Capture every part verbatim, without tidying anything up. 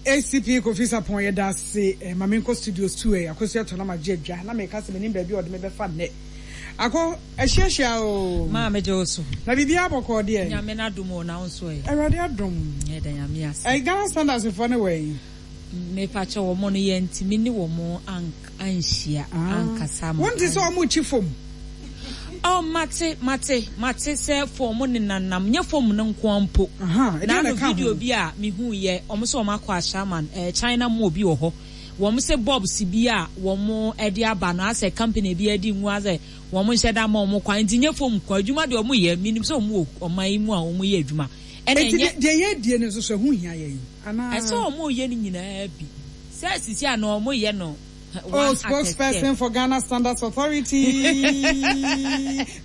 A C P Kofi Sapɔn, yɛda ase. eh, ma menkɔ studios two ɛ Akosua tɔ na magye adwa na meka sɛ menim baabi a ɔde me bɛfa nnɛ. Akɔ ahyiahyia o. Maa megye wo so. Na biribiara bɔkɔɔ deɛ? Nyame no adom o, na wo nso ɛ? Awurade adom. Yɛda Nyame ase. Ɛ Ghana Standards foɔ ne wɔ yi? Mepakyɛ, wɔ mo no yɛntumi ne wɔ mo anhyia ankasa ma. Wonte sɛ ɔmo kyi fam? Oh, mate mate mate sɛ fom nenanam, nyɛ fom no nko mpo. Aha, ɛdeɛ na na no ɛka ho? Video bi a mehu yɛ ɔmo sɛ ɔmo akɔ Ashaiman, eh, China mu obi wɔ hɔ, wɔn sɛ bulbs bi a wɔn de aba no asɛ company bi adi ngu asɛ wɔn nhyɛ da ma wɔn kwan, nti nyɛ fom kwan adwuma deɛ wɔn yɛ. Minim sɛ wɔn wɔ ɔman yi mu a wɔn yɛ adwuma ɛna Enti ɛnyɛ deɛ yɛdie no nso so ɛho hia yɛn anaa? Ɛsɛ wɔn yɛ no nyinaa bi sɛ sisi a na wɔn yɛ no Oh, one at a step. Spokesperson for Ghana Standards Authority,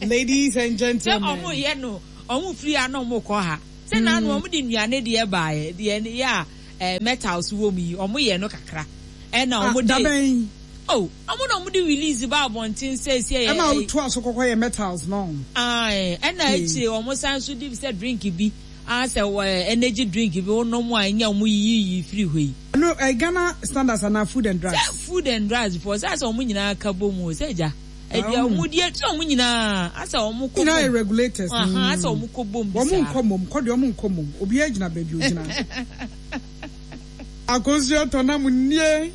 ladies and Sɛ gentlemen. ɔmo yɛ no, ɔmo firi ha na ɔmo kɔ ha sɛ naanu ɔmo de nnuane deɛ baayɛ deɛ yɛ a ɛɛ metals wɔ mu yi, ɔmo yɛ no kakra ɛna Ah, ɔmo de dabɛn? Oh, ɔmo na ɔmo de release ba abɔnten sɛ esi ɛyɛ Ɛma wotoa so kɔkɔ yɛ metals no? Ae, ɛna Okay. akyire ɔmo san so de sɛ drink bi asɛ wɔ energy drink bi wɔnom a ɛnyɛ ɔmo yiyi firi hɔ yi. No, eh, Ghana Standards anaa Food and Drugs? Sɛ Food and Drugs foɔ sɛ asɛ ɔmo nyinaa ka bɔ mu o, sɛ gya ɛdi Ah, ɔmo die sɛ ɔmo nyinaa asɛ ɔmo kɔ nyinaa yɛ bom. Regulators. Aha, asɛ ɔmo kɔ bom bi Wɔn saa. Nkɔ mom kɔ deɛ, ɔmo nkɔ mom, obiara gyina baabi ogyina. Akosua tɔ nam nie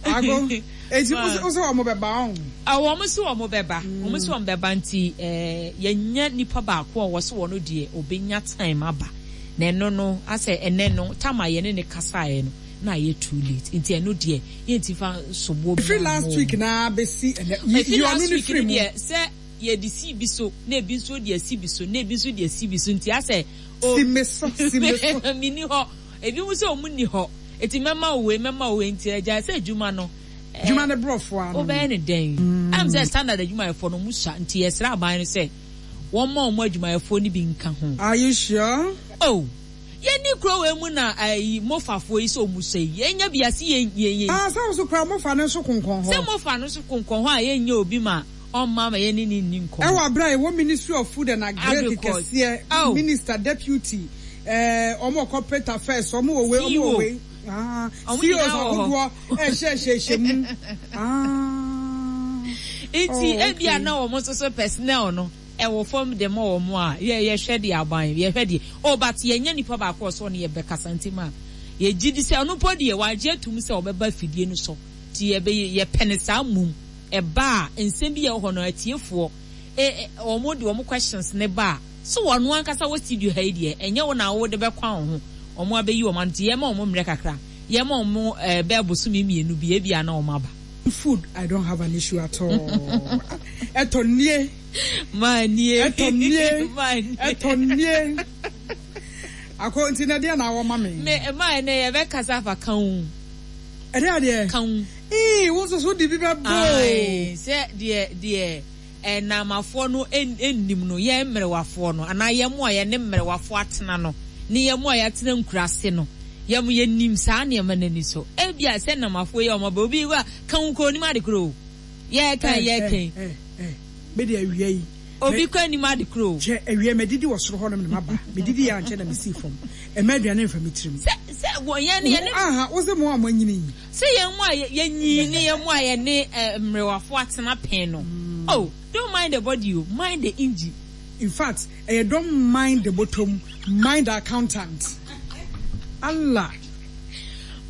ago eti wosɛ wɔn bɛba ɔn? Wɔn so wɔn bɛba, wɔn so wɔn bɛba, nti ɛɛ yɛnya nipa baako a wɔso wɔn deɛ obenya time aba na ɛno no asɛ ɛnɛ no tam a yɛne ne kasaeɛ no na ayɛ too late, nti ɛno deɛ yɛnti fa soboɔ bi. Efiri last week na besi ɛnɛ yi efi yi ɔno last ne week firi no mu. Deɛ sɛ yɛde si bi so na ebi nso de asi bi so na ebi nso de asi bi so, nti asɛ o Si me so, si me so. Mini hɔ, ebi mu sɛ ɔmo ni hɔ, eti mɛma wo wei, mɛma wo wei, nti ɛgya sɛ adwuma no ɛɛ, Adwuma ne borɔfo ano. Wobɛyɛ ne dɛn ɛm sɛ Standard adwumayɛfoɔ no ɔmo sua, nti yɛsrɛ aban no sɛ wɔn ma ɔmo adwumayɛfoɔ no bi nka ho. Are you sure? Oh, yɛni kuro wei mu na ɛyi mofafoɔ yi sɛ ɔmo sɔ yi, yɛnya bi ase yɛn yɛn yɛn Ah, sɛ woso kura mofa ne nso konkɔn sɛ hɔ. Mofa no so konkɔn hɔ a yɛnyɛ obi ma ɔmma ma yɛne ne nni nkɔmmɔ. Ɛwɔ abira ɛwɔ Ministry of Food and Agric Agriculture. kɛseɛ. Oh. Minister, deputy, ɛɛ ɔmo wɔ corporate affairs, ɔmo wɔ wei, ɔmo wɔ C E O. Wei. Ah, Ɔmo C E Os nyinaa wɔ hɔ. ahodoɔ ɛhyɛ ɛhyɛ ɛhyɛ mu. Ah. Nti Oh, ebia okay. na wɔn nso so personnel no ɛwɔ fam de ma wɔn a yɛ yɛhwɛ deɛ aban yɛhwɛ deɛ, oh, but yɛnyɛ nipa baako a ɔsɔ ne yɛbɛkasa, nti ma yɛgye di sɛ ɔno mpo deɛ wagye atum sɛ ɔbɛba fidie no so, nti yɛbɛ yɛpɛ ne saa mum ɛba a nsɛm bi yɛ wɔ hɔ no atiefoɔ ɛ ɛ wɔn de wɔn questions ne ba a so wɔn ankasa wɔ studio ha yi deɛ, ɛnyɛ wɔn na wɔde bɛkwan wɔn ho, wɔn abɛyi wɔn ano, nti yɛma wɔn mmerɛ kakra, yɛma wɔn ɛɛ bɛɛ bosome mmienu bi, ebia na wɔn aba. Food, I don't have an issue at all. Ɛtɔ nie. Maa nie. Ɛtɔ nie. Maa nie. Ɛtɔ nie. Akɔ nti na deɛ na awɔ ma me? Me maa ne yɛbɛkasa afa kan ho. Ɛdeɛ adeɛ? Kan. Ii, wo nso so de bi bɛ bɔ. Ae, sɛ deɛ deɛ ɛnamafoɔ no nnim no, yɛn mmerewafoɔ no anaa yɛn mu a yɛne mmerewafoɔ atena no ne yɛn mu a yɛatena nkuraase no, yɛn mu yɛnim saa nneɛma n'ani so. Ebia sɛ namafoɔ yi a wɔn aba, obi wa kan kuro onim ade kuro yɛɛkan yɛɛkan. Ɛ ɛ mede awia yi. Obi kɔ anim ade kuro. Kyɛ awia mɛdidi wɔ soro hɔnom na maba. Medidi yɛ ankyɛ na mesii fam. Ɛmɛ aduane mfa me tirim. Sɛ sɛ wɔ yɛn ne yɛne. Aha, wo sɛ mo a mo anyini yi. Sɛ yɛn mu a yɛnyi ne yɛn mu a yɛne mmerewafoɔ atena pɛn no, oh, don't mind the body o, mind the engine. In fact, ɛyɛ don't mind the bottom, mind the accountant. Allah.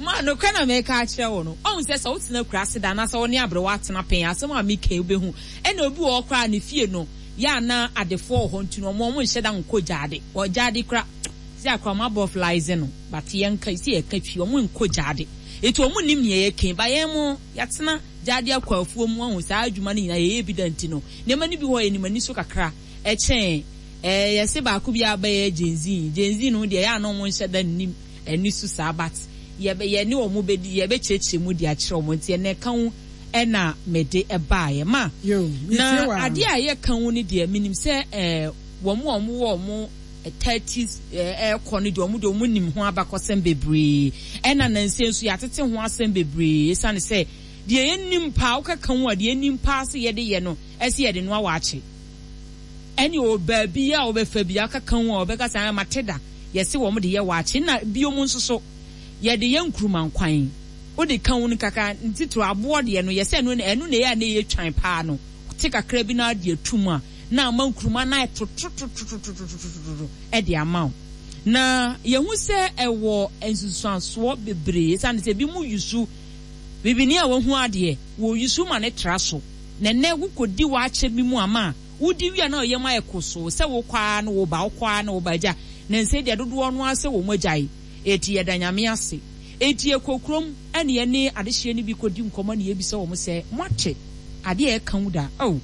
Ma nokora na mɛka akyerɛ wo no, ɔhu sɛ sɛ wotena kura ase da anaasɛ wo ne aberewa atena pɛn, asɛm a meka yi wobɛhu. Ɛna obi wɔ hɔ koraa ne fie no yɛ ana adefoɔ wɔ hɔ, nti no ɔmo ɔmo nhyɛ da nkɔ gyaade. Wɔ gyaade kora sɛ akora ɔmo abɔ flies no, but yɛnka sɛ yɛka twi, ɔmo nkɔ gyaade, eti ɔmo nim nea yɛka. Ba yɛn mo yɛatena gyaade akɔ afuo mu, ahu saa adwuma no nyinaa yɛyɛ bi da, nti no nneɛma no bi hɔ yɛnim ani so kakra ɛkyɛn ɛɛ yɛsɛ baako bi abɛyɛ Gen Z. Gen Z no deɛ, yɛ ana ɔmo nhyɛ da nim ani so saa, but yɛbɛ yɛne wɔn bɛdi, yɛbɛkyerɛkyerɛ mu de akyerɛ wɔn, nti ɛnɛ ka ho ɛna mɛde ɛbaayɛ ma. Yo, na metie wa. Adeɛ a yɛka ho no deɛ, menim sɛ ɛɛ wɔn a wɔn wɔ wɔn thirties ɛɛ ɛkɔ no deɛ, wɔn deɛ wɔn nim ho abakɔsɛm bebree, ɛna nansi nso yɛatete ho asɛm bebree, esiane sɛ deɛ yɛnim paa wokaka ho a, deɛ yɛnim paa sɛ yɛde yɛ no ɛsɛ yɛde noa waakye, ɛne wɔ baabi a wɔbɛfa bi akaka ho a wɔbɛka sɛ mate da Yɛse wɔn de yɛ waakye na biom nso so yɛde yɛ nkurumankwan. Wode ka wo no kakra, ntitiri aboɔ deɛ no, yɛsɛ ɛno ɛno na ɛyɛ a na ɛyɛ twan paa no, te kakra bi na ade atum a, na ama nkuruma na ɛtototototototototo ɛde ama wo. Na yɛhu sɛ ɛwɔ nsusuansoɔ bebree, ɛsiane sɛ ebi mu yusu bibini a wahu adeɛ wɔ yusu ma ne tra so. Na nnɛ wokɔdi waakye bi mu ama a, wodi wia na ɔyɛ mu ayɛ kosoo sɛ wokɔ a na woba, wokɔ a na woba. Agya na nsɛ deɛ dodoɔ no ara sɛ wɔn agyae, eti yɛda Nyame ase. Eti yɛkɔ kurom ɛne yɛne adehyeɛ no bi kɔdi nkɔmmɔ ne yɛbisa wɔn sɛ, moate adeɛ a ɛka wo da? Oh,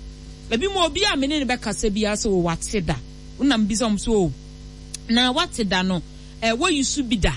ebi mu obi a me ne ne bɛkasa biara sɛ wate da. Wonam bisa wɔn sɛ, oh, na wate da no, ɛ wɔyi bi da?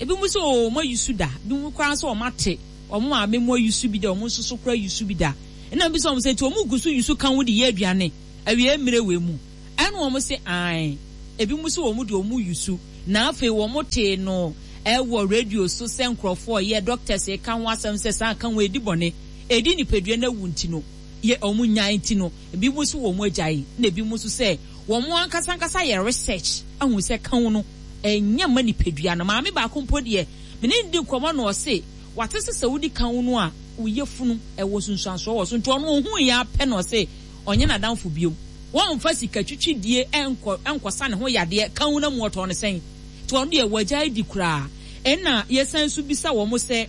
Ebi mu sɛ, oh, mo ayi su da. Ebi mu koraa sɛ wɔn ate wɔn maame mu ayi su bi da, wɔn nso so koraa yi su bi da. Ɛna bisa wɔn sɛ, nti wɔn gu so yi su kan wo de yɛ aduane awie mmerɛ wɔ mu? Ɛna wɔn sɛ ae. Ebi mu sɛ wɔn de wɔn yi su, na afei wɔn te no ɛwɔ radio so sɛ nkurɔfoɔ yɛ doctors ka ho asɛm sɛ saa ka ho edi bɔne, edi nipadua na wu nti no yɛ wɔn nyaa nti no, ebi mu nso wɔn agyae, na ebi mu nso sɛ wɔn ankasa ankasa yɛ research ahu sɛ kan no ɛnyɛ ma nipadua no. Maame baako mpo deɛ, mene ne di nkɔmɔ na ɔse wate sɛ sɛ wodi kan no a, woyɛ funu ɛwɔ sunsuansoɔ wɔ so, nti ɔno ohun yɛ apɛ na ɔse ɔnyɛ n'adamfo biom, wɔmfa sika twitwidie ɛnkɔ ɛnkɔsa ne ho yadeɛ kan no mu ɔtɔ ne sɛn, nti ɔno deɛ wɔagyae di koraa. Ɛna yɛsan nso bisa wɔn sɛ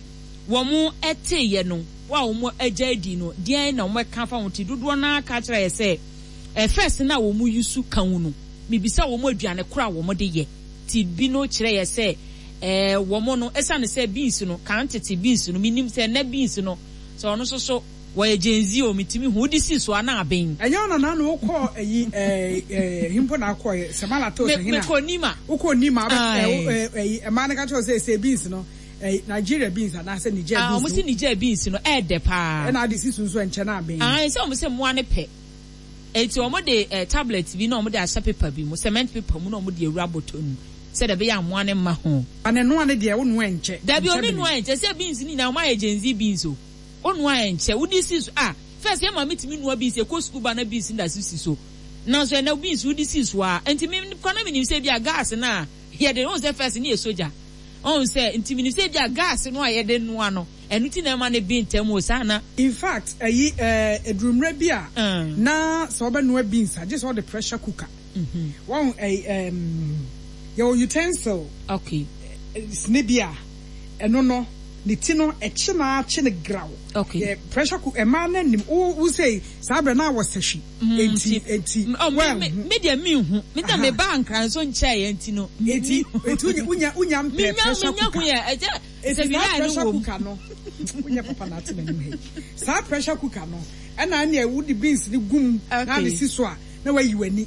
wɔn ɛteeɛ no, wɔn a wɔn agyae di no, deɛn na wɔn ɛka fa ho? Ti dodoɔ naa ka kyerɛ yɛ sɛ ɛfɛs na wɔn yi su kan no, mibisa wɔn aduane koro a wɔn de yɛ, ti bi no kyerɛ yɛ sɛ ɛɛ wɔn no, ɛsiane sɛ beans no kan tete beans no, minim sɛ ɛnɛ beans no sɛ ɔno nso so wɔyɛ Gen Z o, mitimi hu wodi si so ana aben. Ɛnyɛ ɔna na na wokɔ ɛyi ɛɛ ɛɛ himpo na akɔ yɛ sɛmala to sɛ hina? Mekɔ Nima. Wokɔ Nima, ɛɛ ɛyi ɛmaa no ka kyerɛ sɛ sɛ beans no, ɛɛ Nigeria beans anaasɛ Niger beans? Ah, wɔn si Niger beans no ɛɛdɛ paa. Ɛna ade si so nso ɛnkyɛn na aben. Ah, sɛ wɔn sɛ mmoa ne pɛ, eti wɔn de ɛɛ tablet bi na wɔn de ahyɛ paper bi mu, cement paper mu, na wɔn de ewura bɔtɔ mu sɛdeɛ ɛbɛyɛ amoa ne mma ho. Ane noa ne deɛ, wo noa nkyɛ? Dabi, oni noa nkyɛ sɛ beans ni nyinaa wɔn ayɛ Gen Z beans o, o noa nkyɛ, wodi si so ah, first yɛ maame tumi noa beans, ekɔ sukuu ba na beans da so si so, nanso ɛnɛ beans wodi si so a, nti mi kwan na mi nim sɛ ebi a gas na yɛde ohun sɛ first ne yɛ sogya, ohun sɛ nti mi nim sɛ ebi a gas no a yɛde noa no, ɛno ti na ɛma ne bi ntɛm o saa na. In fact, ɛyi ɛɛ edurumire bi a na sɛ ɔbɛ noa beans a, gye sɛ ɔde pressure cooker. Wɔn ɛyi ɛɛm yɛwɔ utensil. Okay. Sini bi a ɛno no ne ti no ɛkyi na akyi ne graw. Okay. Yɛ pressure cook ɛmaa na nim wo wo sɛ saa abirɛ na awɔ sɛhwi. Eti eti well, me me deɛ mi hu me deɛ me ba Nkran so nkyɛn yɛ nti no. Eti eti wunya wunya mpɛ pressure cooker. Minya hu yɛ ɛkyɛ. Eti saa pressure cooker no, wunya papa na ate n'anim ha yi, saa pressure cooker no ɛna ɛna wodi beans ne gum na ne si so a na wayi w'ani,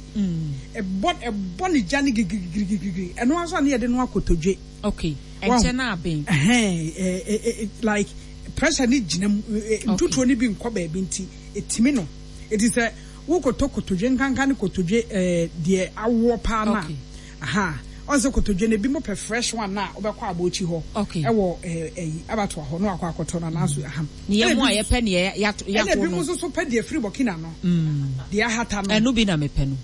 ɛbɔ ɛbɔ ne gya ne girigirigirigiri, ɛno nso a ne yɛde no akotodwe. Okay, ɛnkyɛn na aben. Ɛhɛn, ɛ like pressure ne gyina mu, ntutuo ne bi nkɔ baabi nti etimi no, eti sɛ wokɔtɔ kotodwe nkanka ne kotodwe ɛɛ deɛ awoɔ paa na aha ɔn sɛ kotodwe no ebi mo pɛ fresh one na wobɛkɔ abɔkyi hɔ, ɛwɔ ɛɛ ɛyi abatoa hɔ na wakɔ akɔtɔ no anaso aha. Ne yɛ mu a yɛpɛ ne yɛ yato. Ɛna ebi mo nso so pɛ deɛ firi Burkina no, deɛ ahata no. Ɛno bi na mepɛ no.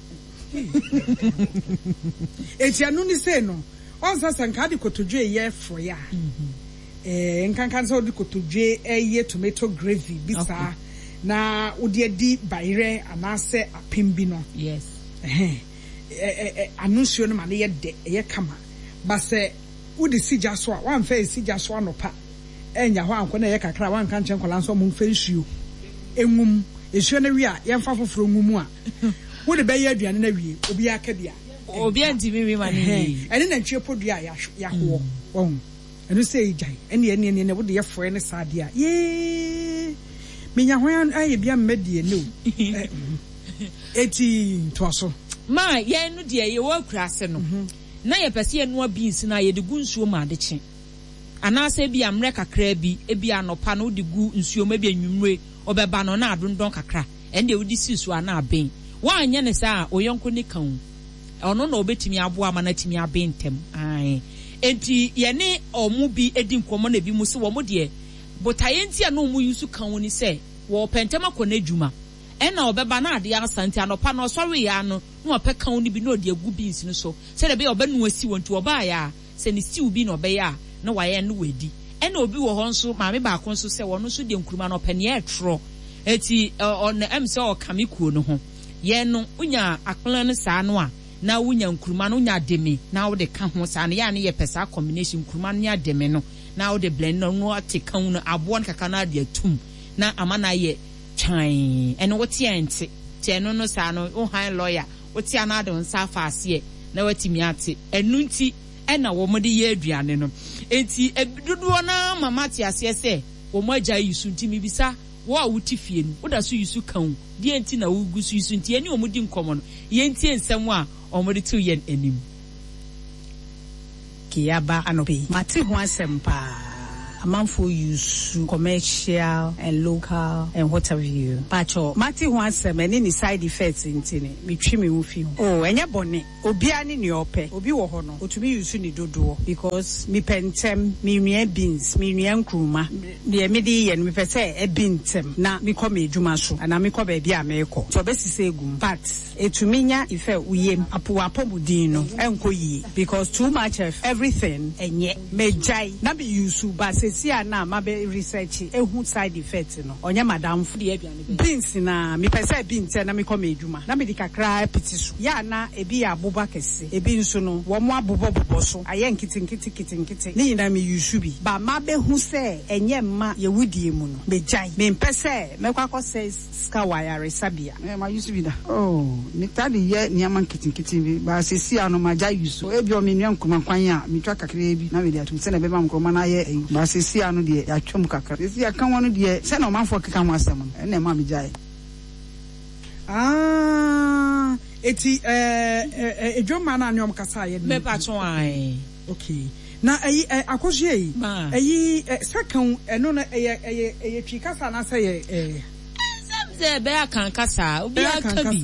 Eti ɛno ne sei no, ɔn sɛ sɛ nka de kotodwe yɛ frɔyɛ a, ɛɛ nkanka sɛ ɔde kotodwe ɛyɛ tomato gravy bi saa na wode adi bayerɛ anaasɛ apem bi no. Yes. Ɛhɛn, ɛ ɛ ano nsuo no ma no yɛ dɛ, ɛyɛ kama, ba sɛ wode si gya so a, wamfa esi gya so anɔpa ɛnya hɔ ankɔ na ɛyɛ kakra a, wanka nkyɛn nkɔla nso ɔmo mfa nsuo engum nsuo no wie a, yɛmfa foforɔ ngu mu a, wode bɛyɛ aduane no awie, obiara ka bi a, obiara ntumi nwi ma ne yie. Ɛne nantwie podua a yɛahoɔ wɔn ɛno sɛ egyae ɛne ɛne ɛne ɛne wode yɛ frɔɛ ne saa adeɛ a, yee, menya hwan ayɛ bi ama die ne o, eti ntoa so. Ma yɛn no deɛ, yɛwɔ akura ase no na yɛpɛ sɛ yɛnoa beans no a, yɛde gu nsuo mu adekye anaasɛ ebi ammerɛ kakra bi, ebi anɔpa no wode gu nsuo mu, ebi anwummere ɔbɛba no na adondɔn kakra, ɛno deɛ wode si so a na aben. Woanyɛ ne saa a, oyɔnko ne ka o, ɔno na ɔbɛtumi aboa ama no atumi aben ntɛm. Ae, enti yɛne ɔmo bi edi nkɔmmɔ na ebi mu sɛ wɔn deɛ, botaeɛ nti a na ɔmo yi so ka wo ni sɛ wɔpɛ ntɛm akɔ n'adwuma, ɛna ɔbɛba na adeɛ asa, nti anɔpa no ɔsɔre ya no Na wapɛ kan no bi na ɔde agu beans no so sɛdeɛ ɛbɛyɛ ɔbɛnoa si wɔ, nti ɔbaeɛ a, sɛ ne stew bi na ɔbɛyɛ a, na wayɛ no wadi. Ɛna obi wɔ hɔ nso, maame baako nso, sɛ ɔno nso deɛ nkuruma no ɔpɛ nea ɛtrɔ, eti ɔno ɛm sɛ ɔka me kuo no ho. Yɛn no, wonya akpena no saa no a, na wonya nkuruma no, wonya ademe na wode ka ho saa no, yɛ a ne yɛpɛ saa combination, nkuruma no ne ademe no, na wode blend no na ate ka ho no, aboɔ no kakra na ade atum na ama no ayɛ twan. Ɛno wote a ɛnte, nti ɛno no saa no, wo han lawyer, wote a na ade wo nsa afa aseɛ na watumi ate. Ɛno nti ɛna wɔn de yɛ aduane no. Enti dodoɔ no ara ma mate aseɛ sɛ wɔn agya yi so. Nti mebisa wo a wote fie no, woda so yi so ka wo deɛ nti na wogu so yi so? Nti yɛne wɔn di nkɔmmɔ no, yɛntie nsɛm a wɔde to yɛn anim. Yaba anɔpa yi, mate ho asɛm paa. Amanfoɔ use commercial and local and what have you. Pakyɛ, mate ho asɛm ɛne ne side effects, nti ne metwi me ho fi ho. Oh, ɛnyɛ bɔne. Obiara ne nea ɔpɛ. Obi wɔ hɔ no, otumi use ne dodoɔ because mepɛ ntɛm, menua beans, menua nkuruma. Deɛ mede yɛ no, mepɛ sɛ ɛbi ntɛm na mekɔ me adwuma so anaa mekɔ baabi a merekɔ. Nti ɔbɛsesa egu mu. But etumi nya effect wo yam, apo w'apɔmuden no ɛnkɔ yie because too much of everything ɛnyɛ. Megyae na me use, but seesei a na mabɛ research ehu side effect no, ɔnyɛ madamfo. Beans na mepɛ sɛ ebi ntɛm na mekɔ me adwuma na mede kakra apiti so. Yɛ a na ebi yɛ aboba kɛse, ebi nso no wɔn abobɔbobɔ so ayɛ nketenkete nketenkete. Ne nyinaa me use bi, but mabɛhu sɛ ɛnyɛ mma yɛwudie mu no, megyae. Mempɛ sɛ mɛkɔ akɔsɛ sika wɔ ayaresabea. Ɛ ma use bi da. Oh, metaa de yɛ nneɛma nketenkete bi, ba seesei ano magya use. Ebi wɔ me nua nkuruma kwan a metwa kakraa bi na mede atum sɛnea ɛbɛma nkuruma no ayɛ ayi. Ba seesei ano deɛ, yɛatwa mu kakra. Seesei aka ho no deɛ, sɛnea ɔmanfoɔ keka ho asɛm no, ɛnna ɛma megyae. Ah, eti ɛɛ edwomma na ne ɔmo kasa ayɛ no. Mepatwo ae. Okay. Na ɛyi ɛ Akosua yi. Ma. Ɛyi ɛ sɛ kan ɛno no, ɛyɛ ɛyɛ ɛyɛ Twi kasa anaasɛ ɛyɛ ɛɛ. Ɛnsɛm sɛ ɛbɛyɛ akan kasa, obiara ka bi.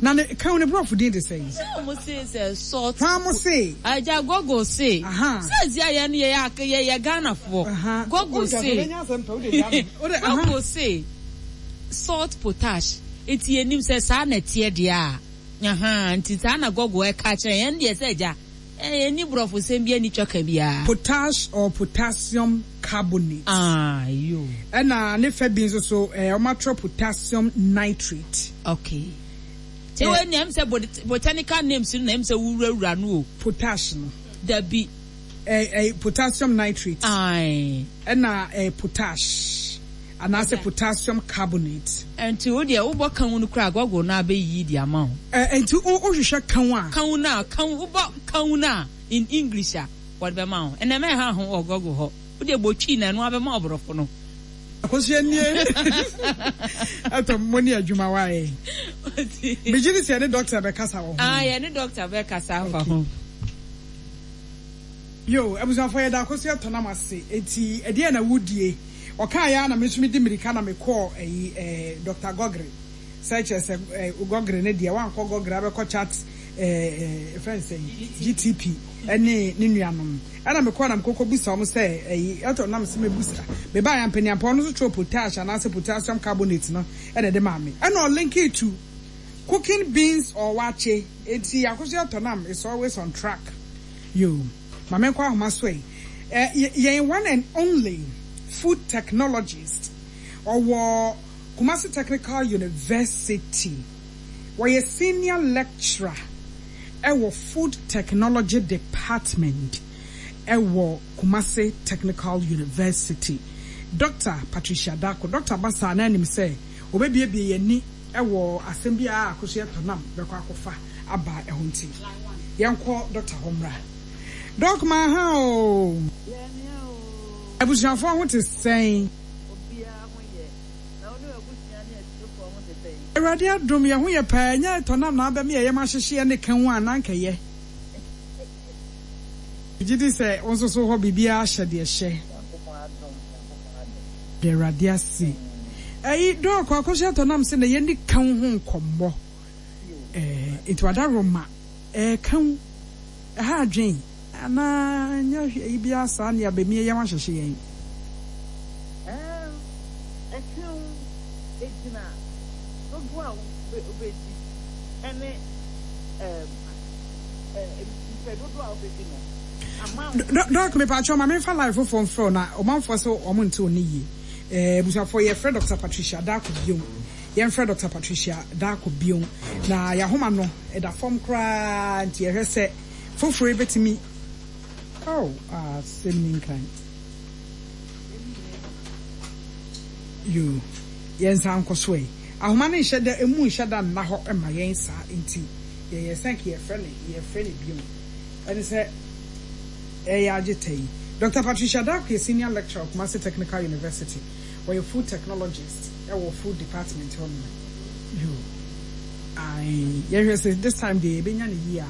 Na ne kan ne borɔfo din de sɛn? Sɛ ɔmo se sɛ salt. Hwaa mo se? Agya, Google se. Aha. Sɛ zi ayɛ no, yɛyɛ yɛyɛ Ghanafoɔ. Aha. Google se. Aha. Google se salt potash. Nti yɛnim sɛ saa na ɛteɛ deɛ a. Aha, nti saa na Google ɛka kyerɛ yɛn deɛ sɛ agya. Ɛyɛ ni borɔfo sɛm bi ani twa ka biara. Potash or potassium carbonate. Ah, yo. Ɛna ne fɛ bi nso so ɛɛ ɔmo atwerɛ potassium nitrate. Okay. Tí wọ́n ní ɛm sɛ botanical names no na ɛm sɛ wurawura no o. Potash no. Dabi. Ɛɛ ɛɛ potassium nitrate. Ayi. Ɛna ɛɛ potash anaasɛ potassium carbonate. Nti o deɛ, wobɔ kan no kura, Google na abɛyiyi di ama wo. Ɛɛ nti o wohwehwɛ kan a. Kan na kan, wobɔ kan na in English a, wɔde bɛma wo. Ɛnna mɛ ha ho wɔ Google hɔ. O deɛ, bɔ Twi na ɛno abɛma ɔborɔfo no. Akosua nie, ɛtɔ mo ne adwuma wae. Megye di sɛ yɛne doctor bɛkasa wɔ ho. Ah, yɛne doctor bɛkasa afa ho. Yo, abusuafoɔ, yɛda Akosua tɔnam ase. Eti ɛdeɛ na wodie ɔkaa yɛ a, na me nso medi mmirika na mekɔɔ ɛyi ɛɛ Doctor Gɔgre sɛ kyerɛ sɛ ɛɛ Gɔgre ne deɛ, wankɔ Gɔgre abɛkɔ chat ɛɛ ɛfɛn sɛ G T P ɛne ne nuanom. Ɛna mekɔɔ na mekɔkɔ bisa wɔn sɛ ɛyi ɛtɔ nam sɛ mebusa mebaa yɛ mpanyinfoɔ ɔno nso twerɛ potash anaasɛ potassium carbonate no, ɛna ɛde maa me, ɛna ɔlink to cooking beans or waakye. Eti Akosua tɔnam is always on track. Yo, maame, nkɔ ahoma so yi. ɛ yɛn one and only food technologist ɔwɔ Kumasi Technical University, wɔyɛ senior lecturer ɛwɔ food technology department ɛwɔ Kumasi Technical University, Doctor Patricia Dako. Doctor Basa na anim sɛ obebiebie yɛn ni ɛwɔ asɛm bi a Akosua tɔnam bɛkɔ akɔfa aba ɛho, nti yɛnkɔ doctor hɔ mmra. Doc, ma ha o, abusuafoɔ ho te sɛn? Awurade adom, yɛn ho yɛ paa. Ɛnyɛ tɔnam na abɛm yɛ yɛm ahyehyeɛ ne ka ho a na nkɛyɛ. Gye di sɛ wo nso so hɔ biribiara hyɛ deɛ hyɛ de. Awurade ase. Ɛyi Doc, Akosua tɔnam sɛ na yɛni ka ho nkɔmmɔ ɛɛ nti wada roma ɛɛ ka ho ɛha adwen anaa nyɛ hwɛ yi biara saa ne abɛmie yɛn ahyehyɛ yɛn. Ɛka wo, egyina dodoɔ a wobɛdi ɛne ɛɛm ɛɛ mpɛ dodoɔ a wobɛdi no ama. Doc, mepatwɛ ma memfa line foforɔ mfrɛ wo na ɔmanfoɔ sɛ ɔmo nte wo ne yie. ɛɛ abusuafoɔ, yɛfrɛ Doctor Patricia Darko biom. Yɛmfrɛ Doctor Patricia Darko biom na yɛahoma no ɛda fam koraa, nti yɛhwɛ sɛ foforɔ yi bɛtumi. Oh, asɛm ni nkran yo. Yɛnsa nkɔ so ɛ. Ahoma no nhyɛ da emu nhyɛ da nna hɔ ma yɛn saa, nti yɛyɛ sɛ nka yɛfrɛ no yɛfrɛ no biom. Ɛne sɛ ɛyɛ agye ta yi, Doctor Patricia Darko yɛ senior lecturer wɔ Kumasi Technical University. Ɔyɛ food technologist ɛwɔ food department hɔ nom. Yo, ae, yɛhwɛ sɛ this time deɛ yɛbɛnya no yie a.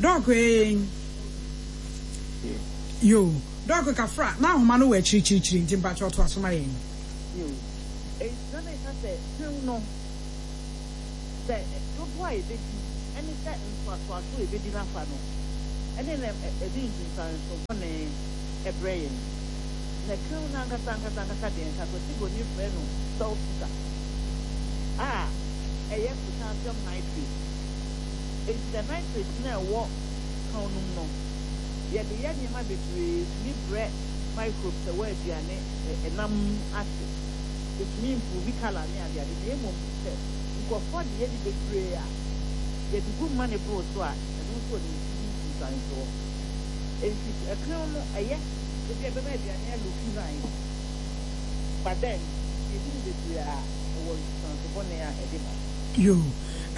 Doc, ee, yo, Doc, kafra na ahoma no wɔ akyirikyirikyiri, nti mpakyɛ ɔto aso ma yɛn. Yo, enti na meka sɛ tew no, sɛ dodoɔ a yɛbɛdi ɛne sɛ ntoatoaso a yɛbɛdi n'afa no ɛne na ɛde nsunsuanso bɔne ɛbrɛ yɛn. Na tew no ankasa ankasa ankasa deɛ, nka Kwasi Broni frɛ no salt sugar a ɛyɛ potassium nitrate. Enti the nitrate no a ɛwɔ kan no mu no, yɛde yɛ nneɛma bebree, tumi brɛ microbes ɛwɔ aduane ɛnam mu ase, ɛtumi improve colour ne adeade. Na mmom sɛ nkurɔfoɔ de yɛ ne bebree a, yɛde gu mma ne boro so a, ɛno nso wɔ ne nsunsuansoɔ. Enti ɛkan no ɛyɛ ebi a ɛbɛma aduane alook nice, but then yɛdi ne bebree a, ɛwɔ nsunsuanso bɔne a ɛde ba. Yo,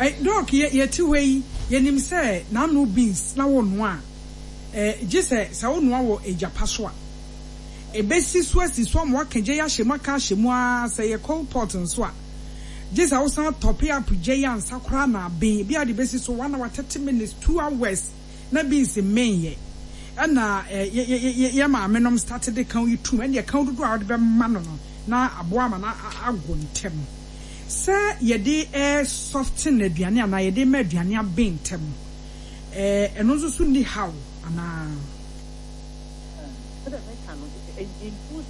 eh, Doc, yɛ yɛte hɔ yi, yɛnim sɛ n'ano beans na wɔnoa a, eh, gye sɛ sɛ wonoa wɔ egyapa so a, ebesi so asi so ama waka gya yi ahyɛ mu, aka ahyɛ mu ara. Sɛ yɛ coal pot nso a, gye sɛ wosan top up gya yi ansa koraa na aben. Ebi a de besi so one hour, thirty minutes, two hours na beans mmɛn. Yɛ ɛna ɛ yɛ yɛ yɛ maame nom start de kan yi tum, ɛna kan dodoɔ a wɔde bɛma no no na aboa ama na ago ntɛm. Sɛ yɛde ɛ soften aduane anaa yɛde ma aduane aben ntɛm, ɛɛ ɛno nso so ni haw anaa? Sɛdeɛ meka no, in food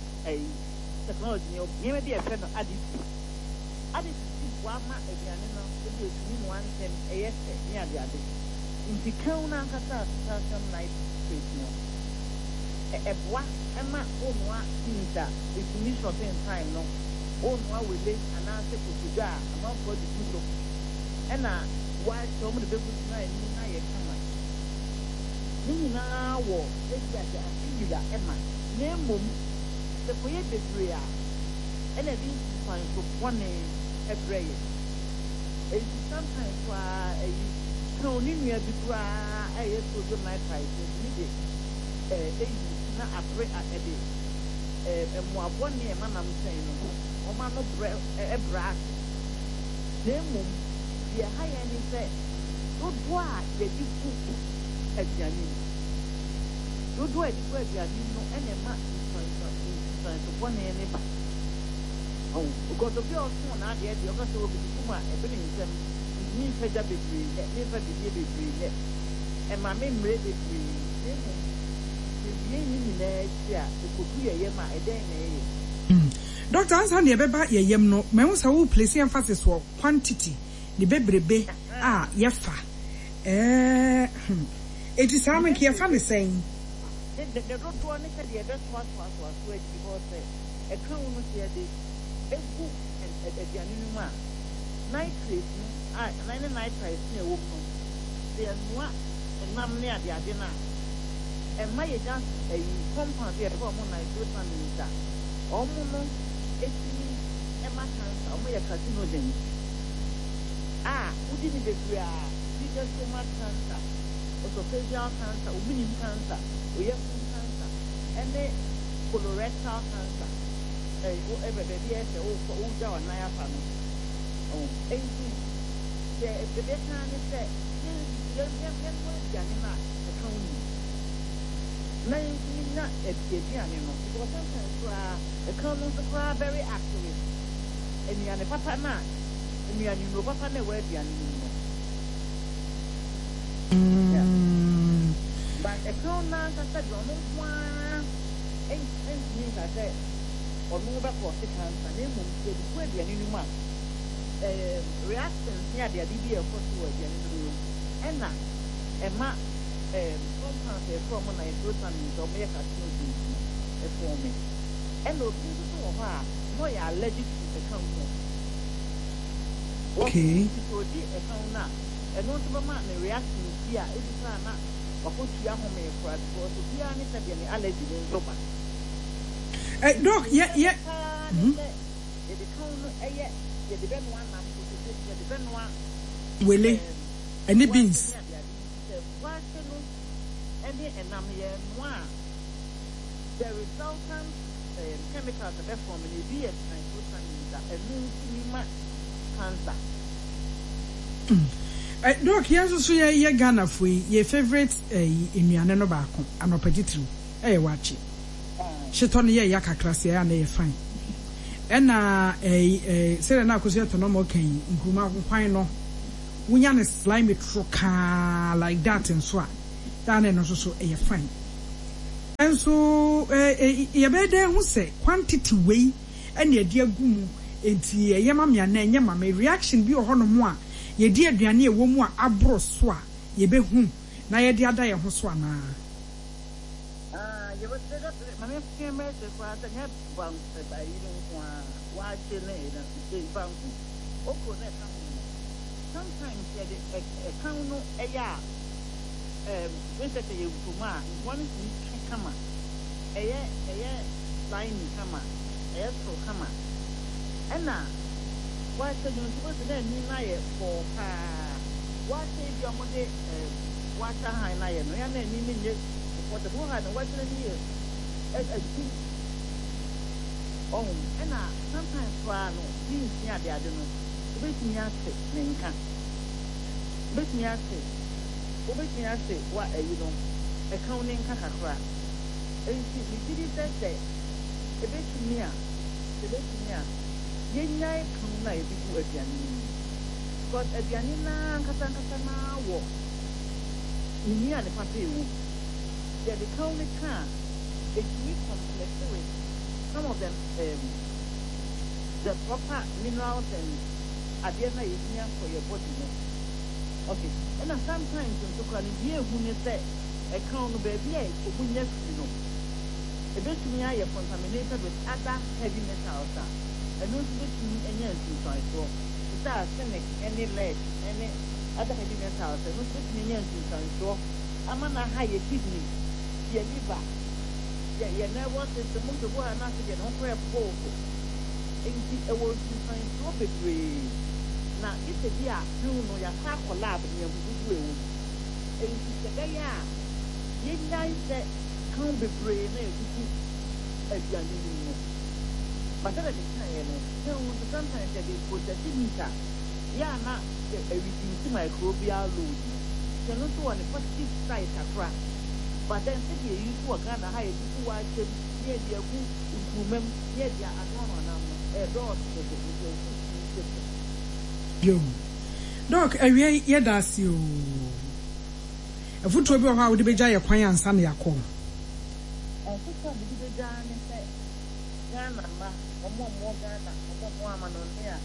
technology ni, nneɛma bi a yɛfrɛ no additive. Additive bi boa ma aduane no ebi etumi noa ntɛm, ɛyɛ fɛ ne adeade. Nti kan no ankasa, potassium nitrate no, ɛboa ɛma wonoa beans a, etumi shorten time no. Wonoa wele anaasɛ kotodwe a, amanfoɔ de gu so, ɛna wɔakyɛ wɔn de bɛgu so na ani na yɛ kama. Ne nyinaa wɔ ebi a sɛ afiyira ɛma. Na mmom sɛ kɔyɛ bebree a, ɛna ɛde nsunsuanso bɔne ɛbrɛ yɛ. Eti sometimes koraa, ɛyi kan ne nua bi koraa ɛyɛ sodium nitrite, ɛtumi de ɛɛ eyi na abere a ɛde ɛɛ mmoa bɔne a ɛma nam sɛn no, wɔn ano brɛ ɛbrɛ ase. Na mmom deɛ ɛha yɛn ne sɛ dodoɔ a yɛde gu aduane mu, dodoɔ a yɛde gu aduane mu no, ɛna ɛma nsunsuanso bɔne ne ba. Ɔn because obi a ɔtɔn n'adeɛ deɛ, ɔka sɛ obi gu mu a, ɛbɛ ne nsam ntumi nfa gya bebree nyɛ, memfa bidie bebree nyɛ, ɛma me mmerɛ bebree. Na mmom yɛwie ne nyinaa akyi a, ɛkɔdu yɛ yam a, ɛdɛn na ɛyɛ? Doctor, ansa na yɛbɛba yɛ yam no, mahu sɛ wo place emphasis wɔ quantity ne bebrebe a yɛfa. ɛɛ hmm eti saa no, nka yɛfa ne sɛn? Ne ne dodoɔ ne sɛdeɛ yɛbɛtoatoatoa so adi, because sɛ ɛka wo no, sɛ yɛde egu aduane no mu a, nitrate no a anan ne nitrite no a ɛwɔ mu no, sɛ yɛnoa nam ne adeade no a, ɛma yɛnya ɛyi compound bi a yɛfrɛ wɔn nitrosamines a wɔn no etumi ɛma cancer. Wɔn yɛ carcinogens a wodi ne bebree a, ebi bɛ stomach cancer, esophageal cancer, ominim cancer, oyafun cancer, ɛne colorectal cancer. Ɛɛ wo ɛbɛ baabi a ɛsɛ wokɔ wogya wɔn nan afa no ɔn. Enti deɛ ebɛka ne sɛ yɛn yɛn yɛn yɛn aduane no a ɛka wo nim na yɛntumi nya aduane no, because sometimes koraa ɛka no nso koraa very active nnuane papa no a, nnuane nnuro papa no a ɛwɔ aduane no mu no. Yeah. But ɛka no ankasa deɛ, ɔno nko ara ntumi nka sɛ ɔno bɛkɔ ɔse cancer. Na mmom yɛde gu aduane no mu a, ɛɛ reactions ne adeade bi a ɛkɔ so wɔ aduane no mu, Ɛna ɛma um, compounds a yɛfrɛ ɔmo nitrosamines a ɔmo yɛ carcinogens no ɛform. Ɛna obi nso so wɔ hɔ a na ɔyɛ allergic to ɛka ho. Okay. Nti sɛ odi ɛka ho no a, ɛno nso bɛma ne reaction bi a ebi koraa na wakɔtua home koraa, because obiara ne sɛdeɛ ne allergy ne nso ba. Eh, Doc, yɛ yɛ Paa ne sɛ yɛde kan no, ɛyɛ yɛde bɛnoa nam kotodwe, yɛde bɛnoa wele ɛne beans. Waakye ne adeade. Nti sɛ waakye no ɛne ɛnam no yɛnoa a, the resultant um, chemicals a ɛbɛform no, ebi yɛ nitrosamines a ɛno ntumi ma cancer. Eh, Doc, yɛn nso so yɛ yɛ Ghanafoɔ yi, yɛ favourite eh, nnuane no baako anɔpa titiriw ɛyɛ waakye. Hyetɔ no yɛ ya kakra sɛ ɛyɛ a na ɛyɛ fine. Ɛna ɛɛ ɛɛ sɛdeɛ na Akosua tɔ nɔɔma ɔka yi, nkuruma nkwan no, wonya ne slimy toro kaa like that nso a, daa na ɛno nso so ɛyɛ fine. Nso ɛɛ yɛbɛyɛ dɛ ho sɛ quantity wei ɛna yɛde agu mu, nti ɛyɛ ma me anaa ɛnyɛ ma me? Reaction bi wɔ hɔnom a yɛdi aduane a ɛwɔ mu a aboro so a, yɛbɛhu na yɛde ada yɛn ho so anaa? Ah, yɛbɛsɛ maame mɛsɛ koraa sɛ nyɛ banku ayi no nko a, waakye ne ɛyi banku, okro na ɛka ho no. Sometimes yɛde ɛka no ɛyɛ a, ɛɛm research yɛ nkuruma a nkuruma no tumi twe kama, ɛyɛ ɛyɛ slimy kama, ɛyɛ soro kama. Ɛna waakye no nso, wɔsi na ani no ayɛ kɔɔ paa. Waakye bi a wɔde ɛɛm waakye ahan no ayɛ no yɛn na ani no nyɛ kɔkɔɔ sɛ wɔn ha no, waakye no ani yɛ ɛtum ɔho. Ɛna sometimes koraa no, beans ne adeade no, wobɛtumi ate ne nka, wobɛtumi ate wobɛtumi ate wa ayi no ɛka wo ne nka kakra. Nti megye di sɛ sɛ ebɛtumi a sɛ ebɛtumi a yɛnyae kan no a yɛde gu aduane no mu, because aduane naa ankasa ankasa naa wɔ ne nnuane papa ɛwɔ mu. Yɛde kan no ka a, ɛtumi complex with some of them, um, the proper minerals and adeɛ no a yɛhia for your body no. Okay, ɛna sometimes nso koraa no, deɛ ehu ne sɛ ɛka no, baabi a ɔmo nya firi no, ebetumi ayɛ contaminated with other heavy metals a ɛno nso betumi anya nsunsuansoɔ, te sɛ arsenic ɛne lead ɛne other heavy metals. Ɛno nso betumi anya nsunsuansoɔ ama na ha yɛ kidney, yɛ liver, yɛ yɛ nervous system mu nso. Ha n'ase deɛ ne ho koraa ɛbɔɔso. Nti ɛwɔ nsunsuansoɔ bebree na gye sɛ bi a kan no yɛakɔ akɔ lab ne yɛn dodoɔ ɛwɔ mu. Nti sɛ bɛyɛ a yɛnyae sɛ kan bebree na yɛde gu aduane no mu no. But sɛdeɛ mekaeɛ no, kan nso sometimes yɛde process meat a yɛ a na ɛreduce microbial load no, nti ɛno nso wɔ ne positive side kakra. But then sɛdeɛ eyi nso wɔ Ghana ha, yɛde gu waakyɛm ne yɛde agu nkuruma mu ne yɛde anoanoa nam no, ɛdɔɔso dodo, nti ɛwɔ sɛ yɛtumi hyɛ so. Yo, Doc, awie yɛda ase o. Afotuo bi wɔ hɔ a wode bɛgya yɛ kwan ansa na yɛakɔ? Afotuo a mede bɛgya ne sɛ Ghana mma, ɔmo a ɔmo wɔ Ghana, ɔmo a ɔmo wɔ amanɔne a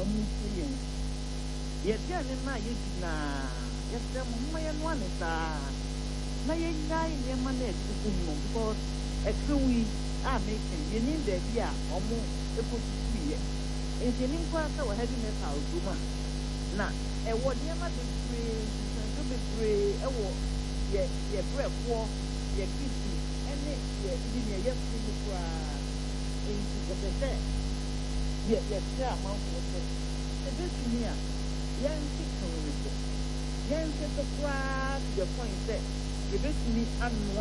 ɔmo tie yɛn, yɛaduane no a yɛdi naa, yɛsrɛ mo, momma yɛnoa ne saa na yɛnyae nneɛma no a yɛde gugu mu no, because ɛka wo yi a meka yi, yɛnim baabi a ɔmo ɛkɔtutuiɛ, nti yɛnim koraa sɛ wɔ heavy metals wɔ mu a na ɛwɔ nneɛma bebree, nsunsuansoɔ bebree ɛwɔ yɛ yɛ brɛboɔ, yɛ kidney ɛne yɛ even yɛ yɛfunu mu koraa. Nti yɛpɛ sɛ yɛ yɛkyerɛ amanfoɔ sɛ ebetumi a yɛnte kan no so, yɛnte so koraa to the point sɛ yɛbɛtumi anoa.